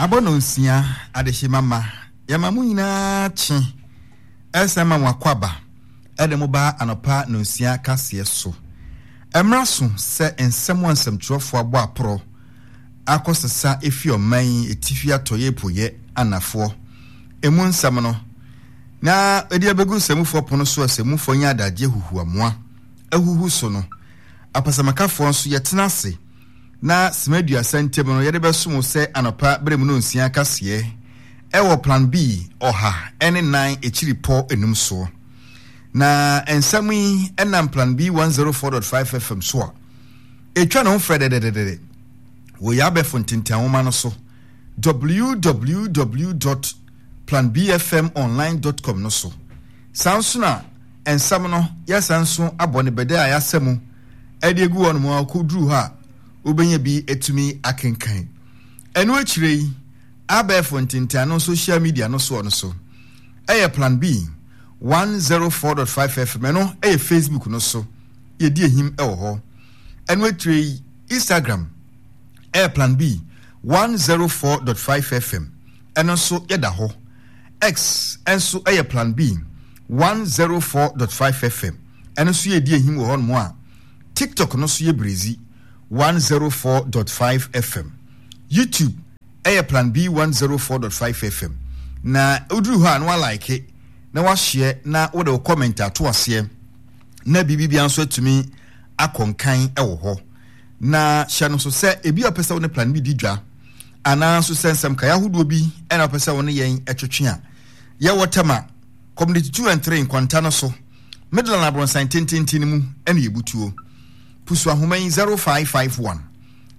Abɔ nonsia adehyema ma yɛma mo nyinaa kye ɛsan ma mo akwaaba ɛde mo ba anɔpa nonsia kaseɛ so. Ɛmmra so sɛ nsɛm a nsɛmtwerɛfoɔ abɔ aporɔ akɔsesa efi ɔman yi etifi atɔeɛ apueɛ anafoɔ emu nsɛm no na ɛde abɛgu nsɛmufoɔ pono so a sɛmufoɔ nya adagyeɛ huhuamoa ahuhu so no apasamakafoɔ nso yɛtena ase na sima aduasa ntam no yɛde bɛsom wo sɛ anɔpa berɛ mu nonsia kaseɛ ɛwɔ Plan B 104 akyiri pɔ enum soɔ. Na nsɛm yi ɛnam Plan B 104.5 FM so a ɛtwa ne ho frɛdɛdɛdɛdɛ wɔ yɛn abɛfo ntentanwoma no so www.planbfmonline.com no so. Saa nso na nsɛm no yɛsan nso abɔ ne bɛdɛ a yɛasɛ mu de agu hɔnom a wokɔduru hɔ a wobɛnya bi atumi akenkan. Ɛno akyire yi, abɛɛfo ntentan social media no soɔ no so ɛyɛ Plan B 104.5 FM, ɛno ɛyɛ Facebook no so, yɛdi ahim ɛwɔ hɔ. Ɛno akyire yi, Instagram ɛyɛ Plan B 104.5 FM, ɛno nso yɛda hɔ. X nso ɛyɛ Plan B 104.5 FM, ɛno nso yɛdi ahim wɔ hɔnom a TikTok no nso yɛ Brezi 104.5 FM. YouTube ɛyɛ Plan B 104.5 FM. Na woduru hɔ a na walike na wahyɛ na wode wo comment ato aseɛ na biribi bia nso atumi akɔ nkan wɔ hɔ. Na hyɛ no so sɛ ebi a wopɛ sɛ wo ne Plan B di dwa anaa nso sɛ nsɛm kae ahodoɔ bi ɛna wopɛ sɛ wo ne yɛn twetwe a, yɛwɔ Tema Community 2 and 3 nkwanta no so, Midland abrɔnsan tententen no mu ɛna yɛbutuo. Pusu ahoma yi 0551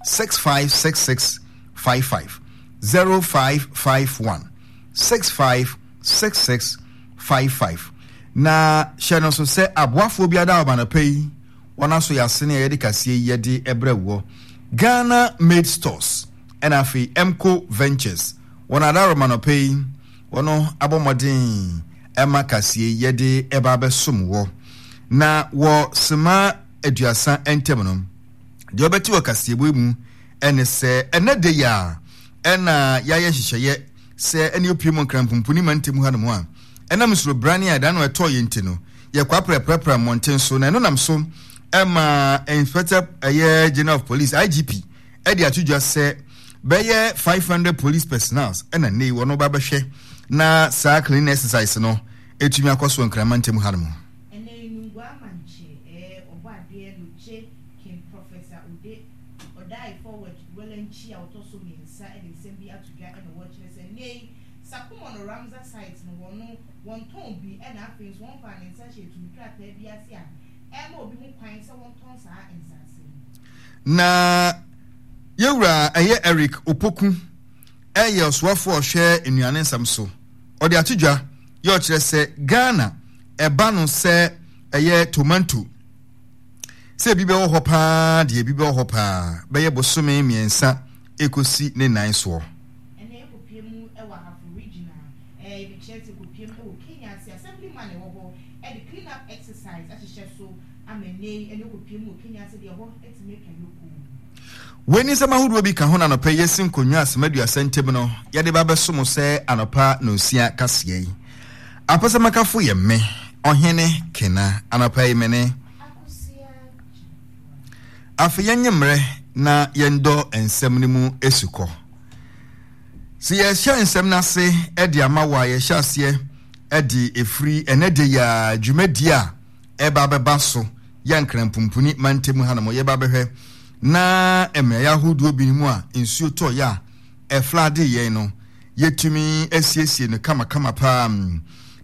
6566 55 0551 6566 55. Na hyɛ no nso sɛ aboafoɔ bi ada ɔba anɔpa yi wɔn aso yɛ asene a yɛde kaseɛ yi yɛde ɛbrɛ woɔ. Ghana Made Stores ɛna afei Emco Ventures wɔn ada ɔba anɔpa yi wɔn abɔ mmɔden ɛma kaseɛ yi yɛde ɛba abɛsom wɔ. Na wɔ sema 30 ntam no, deɛ wobɛte wɔ kaseɛbɔ yi mu ɛne sɛ ɛnɛ da yi a ɛna yɛayɛ nhyehyɛeɛ sɛ ɛne opie mu nkranpumpuni mantam hanom a ɛnam nsurobrane a ɛda no ɛtɔɔ yɛ nti no yɛkɔ aprɛprɛprɛ mmɔnten so na ɛno nam so ɛma Inspector ɛyɛ General of Police IGP ɛde ato dwa sɛ bɛyɛ 500 police personnels ɛna nnɛ yi wɔn ba bɛhwɛ na saa cleaning exercise no ɛtumi akɔ so nkran mantam hanom. Ɛnɛ yi Nungua Amankye eh ɔbɔ adeɛ Loche King Professor Ode Odae Forward Welankyi a ɔtɔ so miensa de nsɛm bi ato dwa ɛna wɔrekyerɛ sɛ nnɛ yi Sakumono Ramsar site no wɔno wɔntɔn bi ɛna afei nso wɔmfaa ne nsa nhyɛɛ tumi krataa bi ase a ɛma obi ho kwan sɛ wɔntɔn saa nsaase no. Na yɛwura ɛyɛ Eric Opoku ɛyɛ ɔsoafoɔ a ɔhwɛ nnuane nsɛm so. Ɔde ato dwa yɛ ɔkyerɛ sɛ Ghana ɛba no sɛ ɛyɛ tomanto sɛ ebi bɛwɔ hɔ paa deɛ ebi bɛwɔ hɔ paa bɛyɛ bosome mmiɛnsa ekosi ne nan soɔ. Ɛnna ɛkɔpie mu wɔ Ahafo Region a ɛɛ ebi kyerɛ sɛ ɛkɔpie mu wɔ Kenya ase Assemblyman ɛwɔ hɔ ɛde clean up exercise ahyehyɛ so ama nnɛ yi ɛnna ɛkɔpie mu wɔ Kenya ase deɛ ɛhɔ atumi atwa yokoo. Wei ne nsɛm ahodoɔ bi ka ho na anɔpa yi yɛasi nkonnwa asɛm 30 ntam no yɛde ba bɛso mo sɛ anɔpa nonsia kaseɛ yi. Apɛsɛmakafo yɛ me, Ɔhene Kena. Anɔpa yi me ne. Afei yɛnyɛ mmerɛ na yɛndɔ nsɛm no mu asukɔ. Sɛ yɛhyɛ nsɛm no ase de ama wo a, yɛhyɛ aseɛ de ɛfiri ɛnɛ de yi a dwumadie a ɛba bɛba so yɛ Nkranpumpuni mantam hanom. Yɛba bɛhwɛ na mmeaeɛ ahodoɔ bi mu a nsuo tɔeɛ a ɛflade yɛn no, yɛtumi asiesie no kamakama paa.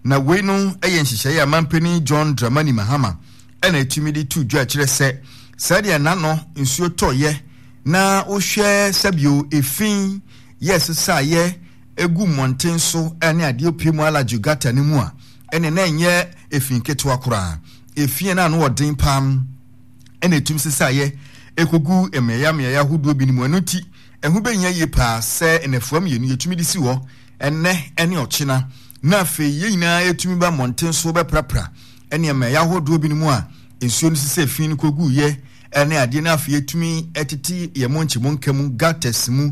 Na wei no yɛ nhyehyɛeɛ a mampanin John Dramani Mahama ɛna ɛtumi de to dwa kyerɛ sɛ sɛdeɛ n'ano nsuo tɔeɛ na wohwɛ sɛbio efi yɛ sesaeɛ egu mmɔnten so ne adeɛ pii mu alajo gata no mu a ɛne na ɛnyɛ efi nketewa koraa. Efi na ano ɔden paa ɛna ɛtumi sesaeɛ ɛkɔgu mmeaeɛ mmeaeɛ ahodoɔ bi no mu. Ɛno nti ɛho bɛhia yie paa sɛ nnafua mmienu yɛtumi de si hɔ ɛnnɛ ne ɔkyena na afei yɛn nyinaa yɛtumi ba mmɔnten so bɛprapra ɛne mmeaeɛ ahodoɔ bi no mu a nsuo no sisɛ fi no kɔguiɛ ɛne adeɛ no afei yɛtumi ɛtete yɛn mɔnkye mɔnka mu gutters mu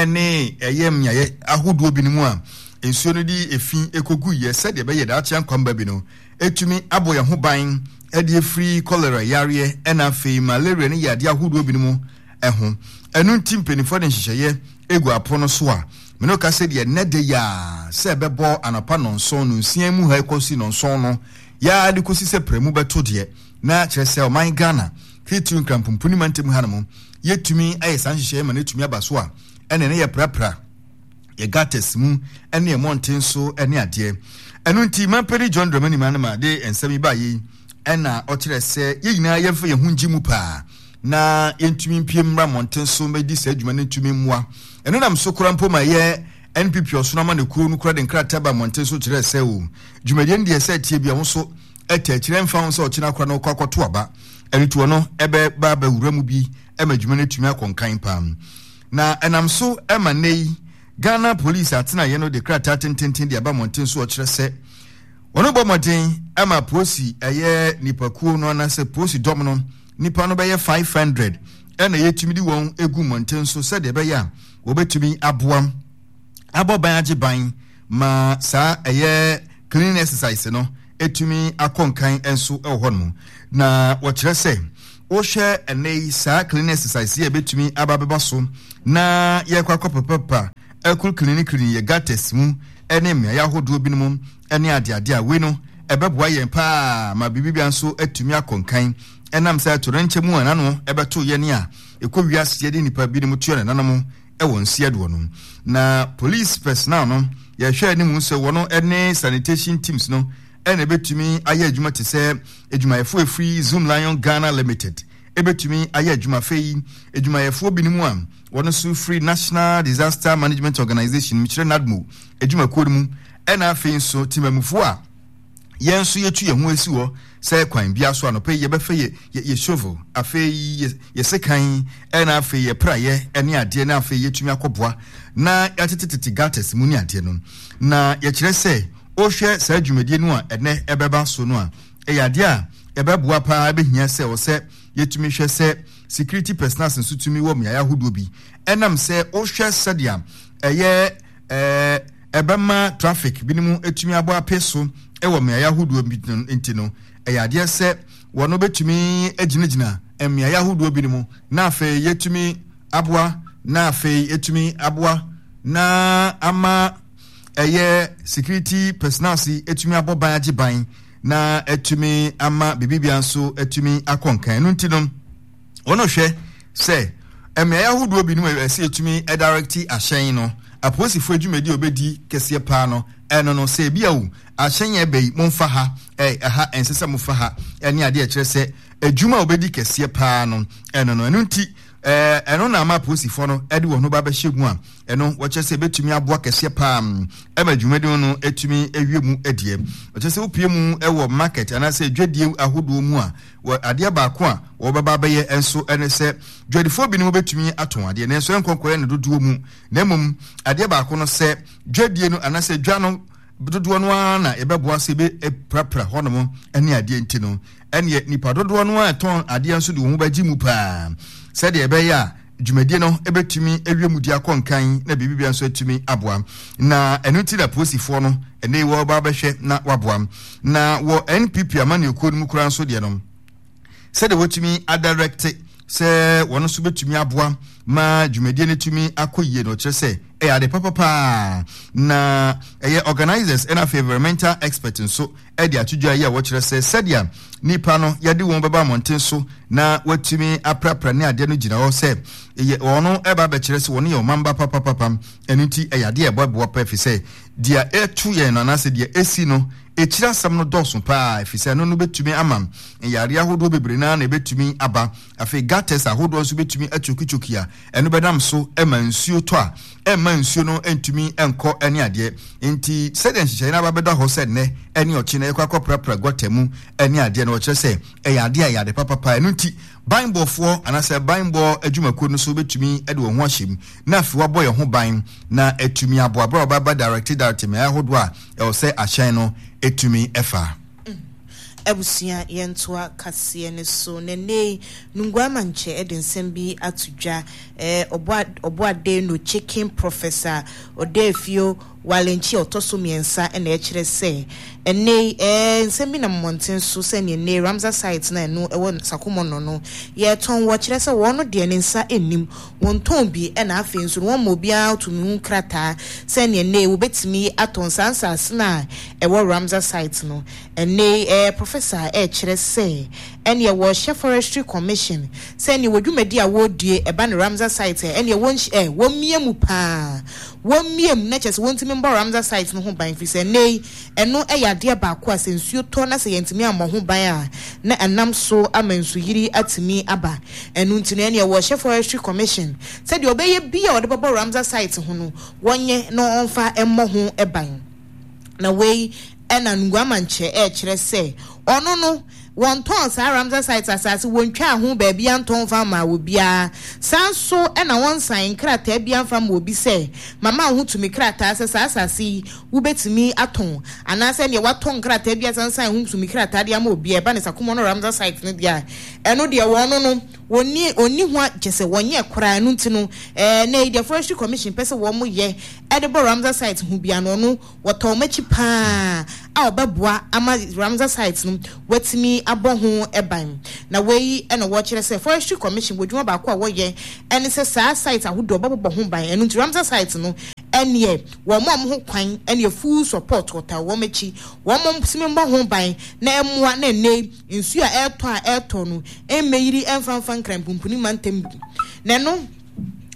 ne ɛyɛ mmeaeɛ ahodoɔ binom a nsuo no de efi kɔguiɛ sɛdeɛ ɛbɛyɛ daakye ankwamba bi no ɛtumi abɔ yɛn ho ban de afiri kɔlera yareɛ ɛna afei malaria ne yadeɛ ahodoɔ binom ho. Ɛno nti mpanimfoɔ de nhyehyɛeɛ egu apono so a mene ka sɛ deɛ nnɛ da yi a sɛ ɛbɛbɔ anɔpa nɔnson nonsia mu ha ɛkɔsi nɔnson no yɛa de kɔsi sɛ prɛmu bɛto deɛ na kyerɛ sɛ ɔman Ghana titiriw Nkranpumpu ne mantam hanom yɛtumi ayɛ saa nhyehyɛeɛ ma no atumi aba so a ɛne ne yɛprapra yɛ gutters mu ne yɛ mmɔnten so ne adeɛ. Ɛno nti mampani John Dramani Mahama de nsɛm yi baeɛ yi ɛna ɔkyerɛ sɛ yɛn nyinaa yɛmfa yɛn ho ngye mu paa na yɛntumi mpie mmra mmɔnten so mmɛdi saa adwuma no ntumi mmoa. Ɛno nam so kora mpo ma ɛyɛ NPP ɔsono ama ne kuo no kora de nkrataa ba mmɔnten so kyerɛ sɛ o dwumadie no deɛ sɛ ɛteɛ bi a wo nso ɛtɛ akyirɛ mfa ho sɛ ɔkyena kora no wokɔ akɔto aba. Ɛno nti ɔno ɛbɛba abɛwura mu bi ma adwuma no atumi akɔ nkan paa. Na ɛnam so ma nnɛ yi Ghana Police atenaeɛ no de krataa tententen de aba mmɔnten so ɔkyerɛ sɛ wɔn bɔ mmɔden ama polisi ɛyɛ nipakuo no anaasɛ polisi dɔm no nipa no bɛyɛ 500 ɛna yɛtumi de wɔn egu mmɔnten so sɛdeɛ ɛbɛyɛ a wɔbɛtumi aboa abɔ ban agye ban ma saa ɛyɛ cleaning exercise no ɛtumi akɔ nkan nso wɔ hɔ nom na wɔkyerɛ sɛ wohwɛ ɛnɛ yi saa cleaning exercise yi a ɛbɛtumi aba bɛba so na yɛkɔ akɔ papapa ɛkoro cleaning cleaning yɛ gutters mu ɛne mmeaeɛ ahodoɔ binom ɛne adeade a wei no ɛbɛboa yɛn paa ma biribibia nso atumi akɔ nkan ɛnam sɛ atorenkyɛ mu a nano ɛbɛto yɛne a ɛkɔ wiase yɛde nnipa binom tuo nananom wɔ nseɛdoɔ no. Na police personnel no, yɛhwɛ anim sɛ wɔn ne sanitation teams no ɛna ɛbɛtumi ayɛ adwuma te sɛ adwumayɛfoɔ ɛfiri Zoom Lion Ghana Limited ɛbɛtumi ayɛ adwuma. Afei adwumayɛfoɔ binom a wɔn nso firi National Disaster Management Organization, mekyerɛ NADMO adwumakuo no mu, ɛna afei nso temamufoɔ a yɛn nso yɛtu yɛn ho asi hɔ sɛ kwan biara so anɔpa yi yɛbɛfa yɛ yɛ yɛ shovel, afei yɛ yɛ sekan, ɛna afei yɛ praeɛ ɛne adeɛ na afei yɛtumi akɔboa na yɛatetetete gutters mu ne adeɛ no. Na yɛkyerɛ sɛ wohwɛ saa dwumadie no a ɛnɛ ɛbɛba so no a, ɛyɛ adeɛ a ɛbɛboa paa, ɛbɛhia sɛ wɔ sɛ yɛtumi hwɛ sɛ security personnels nso tumi wɔ mmeaeɛ ahodoɔ bi, ɛnam sɛ wohwɛ sɛdeɛ ɛyɛ ɛɛ ɛbɛma traffic binom atumi abɔ ape so wɔ mmeaeɛ ahodoɔ bi nti no, ɛyɛ adeɛ sɛ wɔn bɛtumi agyinagyina mmeaeɛ ahodoɔ binom na afei yɛtumi aboa na afei yɛtumi aboa na ama ɛyɛ security personnel si atumi abɔ ban agye ban na atumi ama biribiara nso atumi akɔ nkan. Ɛno nti no, Wɔn hwɛ sɛ mmeae ahodoɔ binom a ɛsɛ yɛtumi directe ahyɛn no, apolisifoɔ adwumadi a wɔbɛdi kɛseɛ paa no, ɛno no, sɛ ebi a o, ahyɛn a ɛbɛ yi, momfa ha, ɛ, ɛha, ɛnsɛ sɛ mofa ha, ɛne adeɛ ɛkyerɛ sɛ adwuma a wɔbɛdi kɛseɛ paa no, ɛno no. Ɛno nti, ɛɛ, ɛno na ama apolisifoɔ no ɛde wɔn ho ba bɛhyɛ mu a, ɛno wɔkyerɛ sɛ ɛbɛtumi aboa kɛseɛ paa ɛma dwumadi no ɛtumi awie mu ɛdeɛ. Wɔkyerɛ sɛ wopie mu ɛwɔ market anaasɛ dwadie ahodoɔ mu a, Wɔ adeɛ baako a wɔbɛba abɛyɛ nso ne sɛ dwadifoɔ binom bɛtumi atɔn adeɛ nanso ɛnkɔ nkɔyɛ no dodoɔ mu, na mmom adeɛ baako no sɛ dwadie no anaasɛ dwa no dodoɔ no ara na yɛbɛboa sɛ yɛbɛprapra hɔnom ne adeɛ nti no, ɛneɛ nipa dodoɔ no ara ɛtɔn adeɛ nso de wɔn ho bɛgye mu paa sɛdeɛ ɛbɛyɛ a dwumadie no bɛtumi awie mu di akɔ nkan na biribi bia nso atumi aboa. Na ɛno nti na polisifoɔ no ɛnɛ yi wɔreba abɛhwɛ na waboa. Na wɔ NPP amanyɔkuo no mu koraa nso deɛ no, sɛdeɛ wɔtumi adirɛkte sɛ wɔn nso bɛtumi aboa ma dwumadie no tumi akɔ yie no, ɔkyerɛ sɛ ɛyɛ ade papa paa. Na ɛyɛ organizers ɛna afei environmental expert nso de ato dwa yi a wɔkyerɛ sɛ sɛdeɛ nnipa no yɛde wɔn bɛba mmɔnten so na wɔatumi aprapra ne adeɛ no gyina hɔ sɛ yɛ wɔn ɛba abɛkyerɛ sɛ wɔn yɛ ɔmamba papapapa. Ɛno nti ɛyɛ adeɛ a ɛbɔ boa pa ɛfiri sɛ deɛ ɛto yɛn no anaasɛ deɛ ɛsi no ɛkyiri asɛm no dɔɔso paa ɛfiri sɛ ɛno no bɛtumi ama nyareɛ ahodoɔ bebree naa na ɛbɛtumi aba. Afei gutters ahodoɔ nso bɛtumi akyokikyoki a ɛno bɛnam so ma nsuo tɔ a ɛmma nsuo no ntumi nkɔ ne adeɛ. Nti sɛdeɛ nhyehyɛeɛ no aba bɛda hɔ sɛ nnɛ ne ɔkyena yɛkɔ akɔprapra gɔta mu ne adeɛ no, wɔkyerɛ sɛ ɛyɛ adeɛ a ɛyɛ ade papapa. Ɛno nti banbɔfoɔ anaasɛ banbɔ adwumakuo no nso bɛtumi de wɔn ho ahyɛ mu na afei wɔabɔ yɛn ho ban na atumi aboa berɛ a wɔbɛba directe directe mmeaeɛ ahodoɔ a ɛwɔ sɛ ahyɛn no tumi fa. Abusua yɛntoa kaseɛ no so na ɛnnɛ yi Nungua Amankyɛ de nsɛm bi ato dwa. Ɔbɔade no Chicken Professor Odeefio Walenkyi a ɔtɔ so mmiɛnsa na ɛkyerɛ sɛ ɛnnɛ yi nsɛm bi nam mmɔnten so sɛdeɛ nnɛ yi Ramsar site no a ɛno ɛwɔ Sakumono no yɛtɔn wɔ kyerɛ sɛ wɔn deɛ ne nsa nnim wɔntɔn bi ɛna afei nso no wɔmma obiara tumi ho krataa sɛdeɛ nnɛ yi wɔbɛtumi atɔn saa nsaase no a ɛwɔ Ramsar site no. Ɛnnɛ yi, ɛyɛ Professor a ɛrekyerɛ sɛ ɛneɛ wɔrehyɛ Forestry Commission sɛ ɛneɛ wɔ dwumadi a wɔredie ɛba no Ramsar site a ɛneɛ wɔnhy ɛ wɔmmia mu paa, wɔmmia mu na kyerɛ sɛ wɔntumi mbɔ Ramsar site no ho ban firi sɛ ɛnnɛ yi ɛno yɛ adeɛ baako a sɛ nsuo tɔ na sɛ yɛntumi ammɔ ho ban a na ɛnam so ama nsuyiri atumi aba. Ɛno nti no ɛneɛ wɔrehyɛ Forestry Commission sɛ deɛ ɔbɛyɛ biara a ɔde bɛbɔ Ramsar site ho no wɔnyɛ na ɔmfa mmɔ ho ban. Na wei na Nguamankyɛ rekyerɛ sɛ ɔno no, wɔntɔn saa Ramsar Site asase, wɔntwaa ho baabiara ntɔn mfa mmaa obiara. Saa nso na wɔnsan nkrataa biara mfa mma obi sɛ, mama wo ho tumi krataa sɛ saa asase yi wobɛtumi atɔn, anaasɛ neɛ watɔ nkrataa bi asansan ho tumi krataa de ama obi a ɛba ne Sakumono Ramsar Site no deɛ a, ɛno deɛ wɔn no wɔnni wɔnni ho a kyɛ sɛ wɔnyɛ koraa. Ɛno nti no, ɛɛ na yi deɛ Forestry Commission pɛ sɛ wɔyɛ de bɔ Ramsar Site ho biara no, ɔno wɔtɔn wɔn akyi paa a wɔbɛboa ama Ramsar Site no wɔatumi abɔ ho ban. Na wei na wɔkyerɛ sɛ Forestry Commission wɔ adwuma baako a wɔyɛ ne sɛ saa site ahodoɔ wɔbɛbobɔ ho ban. Ɛno nti Ramsar Site no ɛneɛ wɔn a wɔn ho kwan ɛneɛ full support wɔtaa wɔn akyi wɔn tumi mmɔ ho ban na ɛmmoa na ɛnnɛ yi nsuo a ɛretɔ a ɛretɔ no ɛmmɛyiri ɛmfa mfa Nkran Pumpuni mantam bi. Na ɛno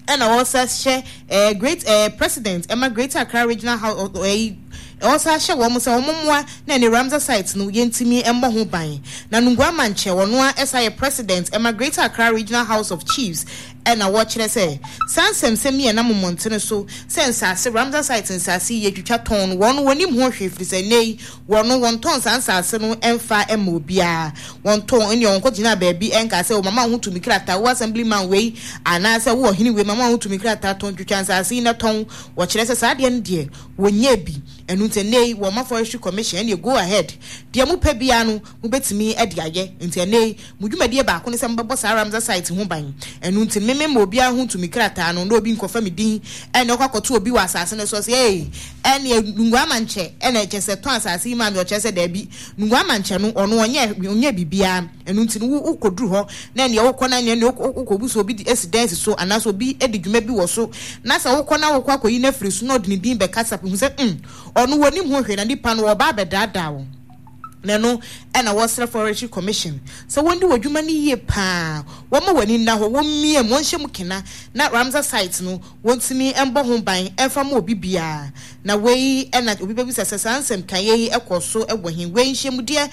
ɛna wɔsa hyɛ ɛɛ great ɛɛ president ɛma Greater Accra Regional House ɛyi wɔsa hyɛ wɔn sɛ wɔn mmoa na ɛne Ramsar site no yɛntumi mmɔ ho ban. Na Nungua Mankyɛ ɔno a ɛsa yɛ president ɛma Greater Accra Regional House of Chiefs ɛna wɔkyerɛ sɛ saa nsɛmsɛm yi ɛnam mmɔntene so sɛ nsaase Ramsar site nsaase yi yɛtwitwa tɔn no wɔn wɔnim ho hwee firi sɛ nnɛ yi Wɔn no, wɔntɔn saa nsaase no mfa mma obiara. Wɔntɔn, ɛnneɛ wɔnkɔgyinaa baabi nkaa sɛ, O mama wo ho tumi krataa, wo assemblyman wei, anaasɛ wo ɔhene wei, mama wo ho tumi krataa, tɔn, twitwa nsaase yi na tɔn. Wɔkyerɛ sɛ saa adeɛ no deɛ, wɔnyɛɛ bi. Ɛno nti ɛnnɛ yi, wɔma Forestry Commission, ɛnneɛ go ahead, deɛ mopɛ biara no, mobɛtumi de ayɛ. Nti ɛnnɛ yi, mo dwumadie baako ne sɛ mobɛbɔ saa Ramsar site ho ban. Ɛno nti me memma obiara ho tumi krataa no, na obi nkɔfa me din ɛne ɔkɔ akɔto obi wɔ asase no so, ɔse ei, ɛneɛ Nungua Amankyɛ ɛna kyerɛ sɛ tɔn asase yi maa me, ɔkyerɛ sɛ daabi, Nungua Amankyɛ no ɔno ɔnyɛ ɔnyɛ biribiara, ɛno nti no wo wokɔduru hɔ na ɛneɛ wokɔ na ɛneɛ wokɔbu sɛ obi de asi dan si so anaasɛ obi di dwuma bi wɔ so na sɛ wokɔ na wokɔ akɔyi no afiri so na ɔde ne din bɛkasa hu sɛ mm ɔno wɔnim ho hwee na nipa no ɔba abɛdaadaa wo. Na ɛno na wɔsrɛ Forestry Commission sɛ wɔndi wɔn dwuma no yie pa ara, wɔmma wɔn ani nna hɔ, wɔmmia mu, wɔnhyɛ mu kena na Ramsar site no wɔntumi mbɔ ho ban mfa mma obi biara. Na wei na obi bɛbisa sɛ saa nsɛmkaeɛ yi kɔɔ so wɔ he? Wei nhyiamudeɛ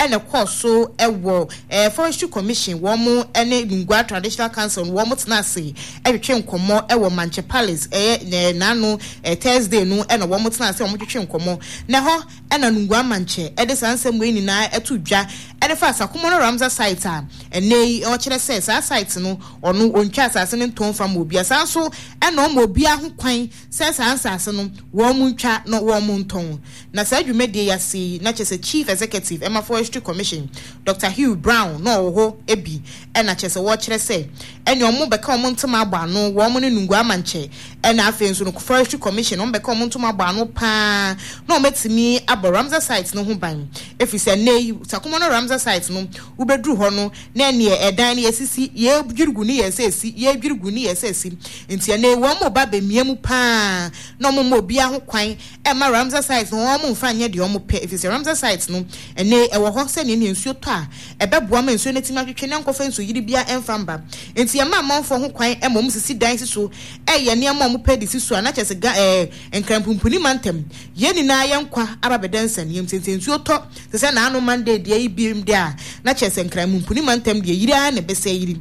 na ɛkɔɔ so wɔ Forestry Commission wɔn ne Nungua Traditional Council no wɔn tena ase twetwe nkɔmmɔ wɔ Mankyɛ Palace, ɛyɛ naano Thursday no na wɔn tena ase wɔn twetwe nkɔmmɔ. Na ɛhɔ Ɛna Nungua Mankyɛ de saa nsɛm wei nyinaa to dwa de faa Sakumono Ramsar site a ɛnnɛ yi ɔkyerɛ sɛ saa site no ɔno ɔntwa asase no ntɔn mfa mma obiara. Saa nso na ɔma obiara ho kwan sɛ saa nsase no wɔn ntwa na wɔn ntɔn. Na saa dwumadie yi ase yi na kyerɛ sɛ Chief Executive ɛma Forestry Commission Doctor Hugh Brown na ɔwɔ hɔ bi ɛna kyerɛ sɛ wɔkyerɛ sɛ ɛne wɔn bɛka wɔn ntoma abɔ ano wɔn ne Nungua Mankyɛ Ɛna afei nso no Forestry Commission wɔn bɛka wɔn ntoma abɔ ano paa na wɔn atumi abɔ Ramsar site no ho ban ɛfiri sɛ nnɛ yi Sakumono Ramsar site no wobɛduru hɔ no na ɛneɛ ɛdan no yɛsisi yɛdwiri gu ne yɛ sɛ ɛsi yɛdwiri gu ne yɛ sɛ ɛsi nti ɛnɛ yi wɔn ba bɛmia mu paa na wɔn mma obiara ho kwan ɛma Ramsar site no wɔn mfa nyɛ deɛ wɔn pɛ ɛfiri sɛ Ramsar site no ɛnɛ yi ɛwɔ hɔ sɛdeɛ ne nsuo tɔ a ɛbɛboa ma nsuo no atumi atwetwe na nkɔfa nsuoyiri biara ɛmfa mba nti yɛma amanfoɔ ho kwan ma wɔn sisi dan si so ɛyɛ nneɛma a wɔpɛ de si so a, na kyerɛ sɛ ga ɛɛ Nkranpumpuni mantam, yɛn nyinaa yɛn nkwa aba abɛda nsania mu. Sɛ sɛ nsuo tɔ te sɛ naano Monday deɛ yi biom deɛ a, na kyerɛ sɛ Nkranpumpuni mantam deɛ yiri ara na ɛbɛsɛ yiri.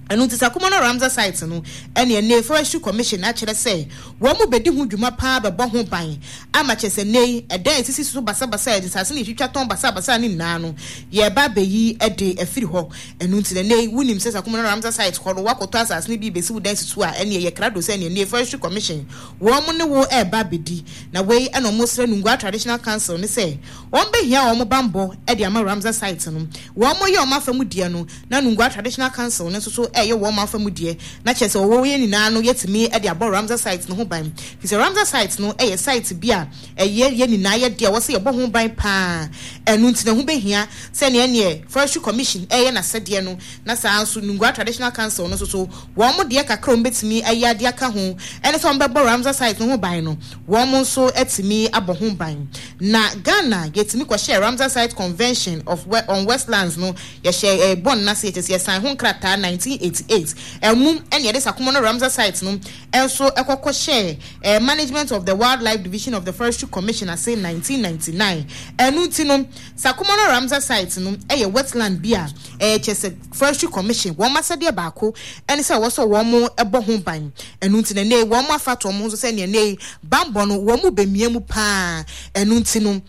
Ɛno nti Sakumono Ramsar Site no ɛne ɛnnɛ yi Forestry Commission akyerɛ sɛ wɔn bɛdi ho dwuma paa bɛbɔ ho ban ama kyerɛ sɛ nnɛ yi ɛdan a ɛsisi so basabasa a nsase no yɛtwitwa tɔn basabasa no nyinaa no yɛreba abɛyi de afiri hɔ. Ɛno nti na nnɛ yi wonim sɛ Sakumono Ramsar Site hɔ no woakɔtɔ asase no bi rebɛsi wo dan si so a ɛneɛ yɛ krado sɛ ɛneɛ nnɛ yi Forestry Commission wɔn ne wo reba abɛdi. Na wei na wɔsrɛ Nungua Traditional Council no sɛ wɔn bɛhia wɔn banbɔ de ama Ramsar Site no. Wɔn yɛ wɔn afa mu deɛ no na Nungua Traditional Council no nso so reyɛ wɔn afa mu deɛ, na kyerɛ sɛ wɔwɔ yɛn nyinaa no yɛatumi de abɔ Ramsar Site no ho ban. Firi sɛ Ramsar Site no yɛ site bi a ɛyɛ yɛn nyinaa yɛ deɛ a ɛwɔ sɛ yɛbɔ ho ban pa ara. Ɛno nti na ɛho bɛhia sɛ nea ɛneɛ Forestry Commission reyɛ n'asɛdeɛ no, na saa ara nso Nungua Traditional Council no nso so wɔn deɛ kakra a wɔbɛtumi ayɛ de aka ho ne sɛ wɔbɛbɔ Ramsar Site no ho ban no, wɔn nso atumi abɔ ho ban. Na Ghana yɛtumi kɔhyɛɛ Ramsar Site Convention of on Westlands no Yɛhyɛɛ eh, bɔn no ase, kyerɛ sɛ yɛsan ho nkrataa 1988. Ɛmu ɛna yɛde Sakumono Ramsar Site no nso kɔ kɔhyɛɛ eh, Management of the Wildlife Division of the Forestry Commission ase 1999. Ɛno nti no, Sakumono Ramsar Site no yɛ wetland bi a eh, kyerɛ sɛ Forestry Commission wɔn asɛdeɛ baako ɛne sɛ ɛwɔ sɛ wɔn bɔ ho ban. Ɛno nti no ɛnɛ yi wɔn afa ato wɔn ho so sɛ nea ɛnɛ yi banbɔ no wɔn bɛmia mu paa. Ɛno nti no,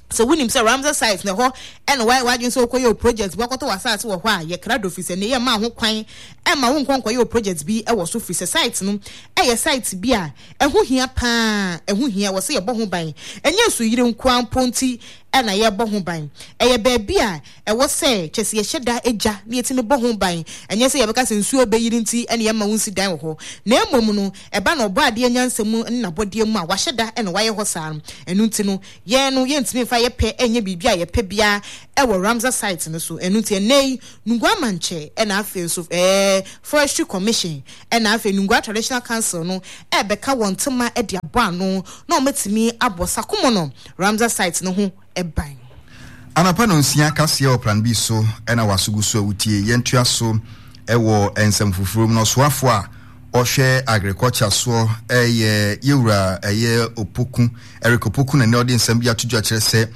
Sɛ wonim sɛ Ramsar site na ɛhɔ na woayɛ w'adwene sɛ wokɔyɛ wo project bi, woakɔtɔ w'asase wɔ hɔ a, yɛ krado firi sɛ nnɛ yɛmmaa ho kwan mma wonkɔ nkɔyɛ wo project bi wɔ so firi sɛ site no yɛ site bi a ɛho hia pa ara, ɛho hia, ɛwɔ sɛ yɛbɔ ho ban. Ɛnyɛ nsuyire nko ara mpo nti na yɛrebɔ ho ban. Ɛyɛ baabi a ɛwɔ sɛ kyerɛ sɛ yɛhyɛ da gya na yɛtumi bɔ ho ban. Ɛnyɛ sɛ yɛbɛka sɛ nsuo rebɛyiri nti na yɛmma wonsi dan wɔ hɔ, na mmom no, ɛba no Ɔbɔadeɛ nyansa mu ne n'abɔdeɛ mu a, wahyɛ da na wayɛ hɔ saa no. Ɛno nti no, Yɛn no, yɛntumi mfa yɛ pɛ nyɛ biribi a yɛpɛ biara wɔ Ramsar site no so. Ɛno nti, ɛnnɛ yi, Nungua Amankyɛ ɛna afei nso ɛɛ Forestry Commission ɛna afei Nungua Traditional Council no ɛrebɛka wɔn ntoma de abɔ ano na wɔatumi abɔ Sakomono Ramsar site no ho ban. Anɔpa nonsia kaseɛ wɔ Plan B so na w'aso gu so a wotie. Yɛntoa so wɔ nsɛm foforɔ mu no, ɔsoafoɔ a ɔhwɛ agriculture soɔ yɛ yɛwura ɛyɛ Opoku, Eric Opoku na ɛnɛ ɔde nsɛm bi ato dwa kyerɛ sɛ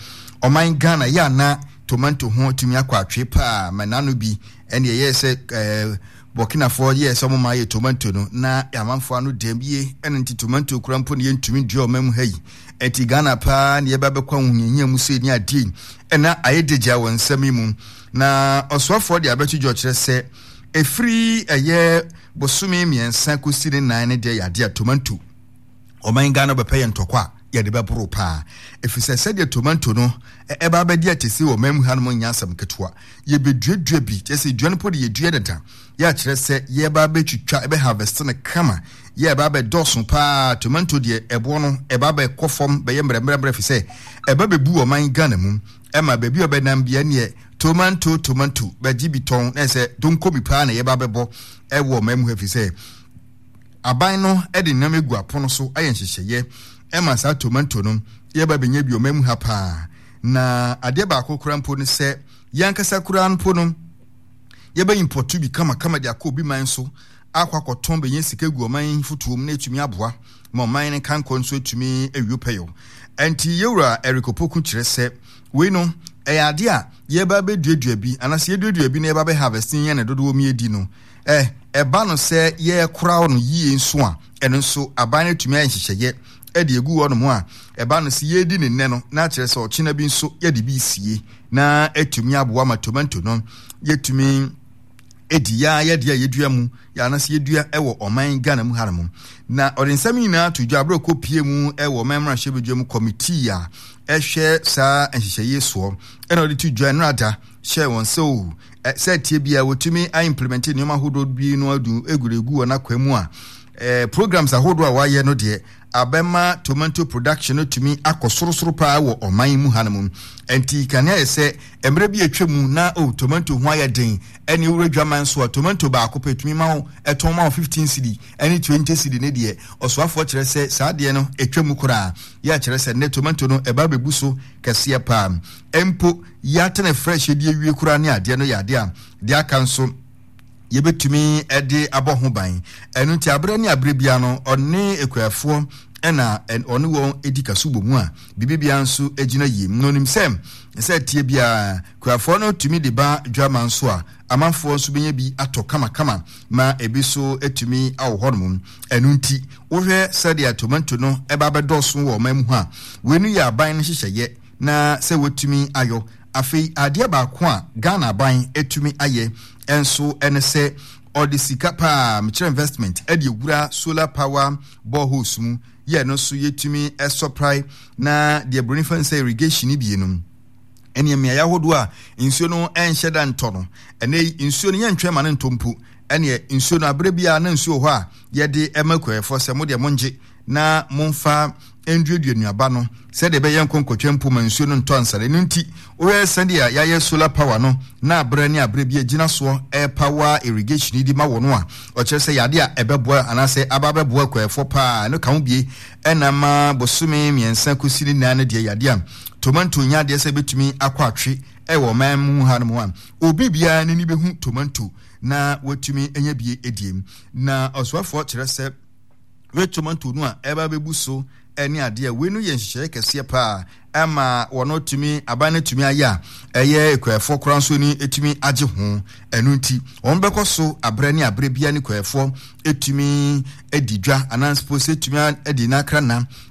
ɔman Ghana yɛ ana tomanto ho atumi akɔ atwe paa ma n'ano bi ɛne ɛyɛ sɛ ɛɛ Burkinafoɔ yɛɛ sɛ wɔn ayɛ tomanto no na amanfoɔ ano dɛm yie ɛna nti tomanto kura mpo ne yɛntumi dua ɔman mu ha yi ɛnti Ghana paa ne yɛba bɛkɔ ahohiahia mu sei ne adeɛ yi ɛna ayɛ degya wɔ nsɛm yi mu na ɔsoafoɔ de abɛto dwa kyerɛ sɛ ɛfiri ɛyɛ bosome mmiɛnsa kɔsi ne nan ne deɛ yɛ adeɛ a tomanto ɔman Ghana bɛpɛ yɛ ntɔkwa a yɛde bɛboro paa ɛfiri sɛ sɛdeɛ tomanto no ɛba abɛdi atɛsi wɔ ɔman mu hanom nyɛ asɛm ketewa yɛbɛduadua bi kyerɛ sɛ dua no po de yɛdua dada yɛ akyerɛ sɛ yɛba abɛtwitwa ɛbɛ harvest no kama yɛ ɛba abɛdɔɔso paa tomanto deɛ ɛboɔ no ɛba abɛkɔ fam bɛyɛ mmerɛmmerɛmmerɛ fi sɛ ɛba bɛbu ɔman Ghana mu ɛma baabi a ɔbɛnam bia neɛ tomanto tomanto bɛgye bi tɔn na ɛsɛ donko bi paa na yɛba abɛbɔ ɛwɔ ɔman mu ha fi sɛ Aban no de nneɛma egu apono so ayɛ nhyehyɛeɛ ɛma saa tomanto no yɛba bɛnya bi ɔman mu ha paa. Na adeɛ baako koraa mpo ne sɛ yɛn ankasa koraa mpo no yɛbɛ impɔto bi kamakama de akɔ obi man so akɔ akɔtɔn bɛnya sika gu ɔman fotoɔ mu na ɛtumi aboa ma ɔman no kankɔ nso atumi awie pɛyɔ. Ɛnti yɛwura Eric Opoku kyerɛ sɛ wei no ɛyɛ adeɛ a yɛba bɛduadua bi anaasɛ yɛduadua bi na yɛba bɛ harvest yɛn ne dodoɔ mu yɛdi no Ɛ, ɛba no sɛ yɛrekora no yie nso a, ɛno nso aban no atumi ayɛ nhyehyɛeɛ de agu hɔnom a, ɛba no sɛ yɛredi ne nnɛ no, na akyerɛ sɛ ɔkyena bi nso yɛde bi resie na atumi aboa ma tomanto no yɛtumi ɛdi yɛa yɛde a yɛdua mu yɛ anaasɛ yɛdua wɔ ɔman Ghana mu hanom. Na ɔde nsɛm nyinaa to dwa berɛ ɔkɔpie mu wɔ ɔman mmarahyɛbadwa mu kɔmitii a ɛhwɛ saa nhyehyɛeɛ soɔ ɛna ɔde to dwa nnora hyɛɛ wɔn sɛ o sɛ ɛteɛ biara wɔtumi a implement nneɛma ahodoɔ bi no adu eguregu wɔn akwan mu a eh, programs ahodoɔ a wɔayɛ no deɛ abɛma tomato production no tumi akɔ sorosoro paa wɔ ɔman mu hanom. Nti kane ayɛ sɛ mmerɛ bi atwa mu na o tomato ho ayɛ den ɛne wura dwaman so a tomato baako pɛ tumi ma wo ɛtɔn ma wo 15 cedi ɛne 20 cedi ne deɛ ɔsoafoɔ kyerɛ sɛ saa deɛ no atwa mu koraa yɛ kyerɛ sɛ nnɛ tomato no ɛba bɛbu so kɛseɛ paa mpo Yɛatene fresh de awie koraa ne adeɛ no yɛ adeɛ a deɛ aka nso yɛbɛtumi de abɔ ho ban. Ɛno nti aberɛ ne aberɛ biara no ɔne akuafoɔ ɛna ɔne wɔn di kaso bɔ mu a biribiara nso gyina yie. Na onim sɛ sɛ tie biara kuafoɔ no tumi de ba dwama nso a, amanfoɔ nso bɛnya bi atɔ kamakama ma ebi nso atumi awɔ hɔnom. Ɛno nti wohwɛ sɛdeɛ tomanto no ɛba bɛdɔɔso wɔ ɔman mu hɔ a, wei no yɛ aban no nhyehyɛeɛ na sɛ wɔtumi ayɔ. Afei adeɛ baako a Ghana aban atumi ayɛ nso ɛne sɛ ɔde sika paa, mekyerɛ investment, ɛde awura solar power boreholes mu yɛ no nso yɛtumi ɛsɔprae na deɛ buroni fa sɛ irrigation bie no ɛne mmeaeɛ ahodoɔ a nsuo no ɛnhyɛ da ntɔ no. Ɛnɛ nsuo no yɛntwɛn ma no ntɔ mpo, ɛneɛ nsuo no aberɛ biara na nsuo wɔ hɔ a yɛde ɛma kuayɛfoɔ sɛ mo deɛ mongye na momfa nduadua nnuaba no sɛdeɛ ɛbɛyɛ nkɔnkɔtwa mpo ma nsuo no ntɔ ansa. Ɛno nti wohwɛ sɛdeɛ yɛayɛ solar power no na aberɛ ne aberɛ bi agyina soɔ ɛpower irrigation yi di ma wɔ no a, ɔkyerɛ sɛ yɛade a ɛbɛboa anaasɛ aba bɛboa akuayɛfoɔ paa. Ɛno ka ho bie ɛna ma bosome 3 kɔsi ne nan no deɛ, yɛade a tomanto nya adeɛ sɛ ɛbɛtumi akɔ atwe ɛwɔ ɔman mu ha no mu a, obi biara n'ani bɛhu tomanto na watumi anya bie edie. Na ɔsoafoɔ kyerɛ sɛ wei tomanto no a ɛba bɛbu so ɛne adeɛ wei no yɛ nhyehyɛeɛ kɛseɛ paa ɛma wɔn tumi aban no tumi ayɛ a ɛyɛ kuafoɔ koraa nso ni etumi agye ho. Ɛno nti wɔn bɛkɔ so abrɛ ne abrɛ bia ne kuafoɔ etumi adi dwa anaa mpo sɛ etumi adi n'akra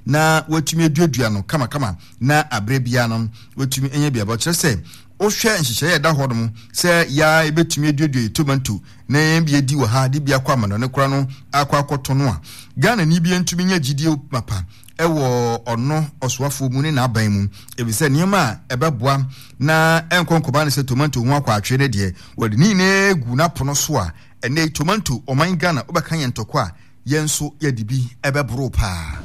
na wɔatumi aduadua no kamakama na abrɛ bia no wɔatumi anya biaba. Kyerɛ sɛ wohwɛ nhyehyɛeɛ ɛda hɔ nom sɛ yaa ebɛtumi aduadua tomanto na yɛn bi adi wɔ ha de bi akɔ amanɔne kora no akɔ akɔtɔ no a, Ghana ni bi ntumi nya gyidie mapa ɛwɔ ɔno ɔsoafoɔ mu ne n'aban mu, efisɛ nneɛma a ɛbɛboa na ɛnkɔ nkɔba ne sɛ tomanto ho akɔ atwe ne deɛ wɔde ne nyinaa gu n'apono so a, ɛnɛ tomanto ɔman Ghana wobɛka yɛn ntɔkwa a yɛn nso yɛde bi ɛbɛboro paa.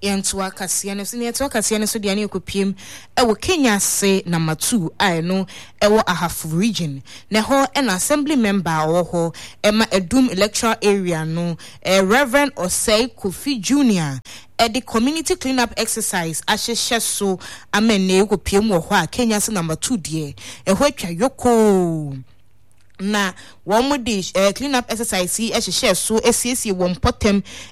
Yɛntoa kaseɛ no so ne yɛtoa kaseɛ no so deɛ ne yɛkɔpiem ɛwɔ Kenyase Number 2 a ɛno ɛwɔ Ahafo Region, na ɛhɔ ɛna assembly member a ɔwɔ hɔ ɛma Adum electoral area no, Reverend Osei Kofi Junior, ɛde community clean up exercise ahyehyɛ so ama nnɛ yɛkɔpiem wɔ hɔ a Kenyase Number 2 deɛ ɛhɔ atwa yokoo, na wɔn de clean up exercise yi hyehyɛ so asiesie wɔn mpɔtam.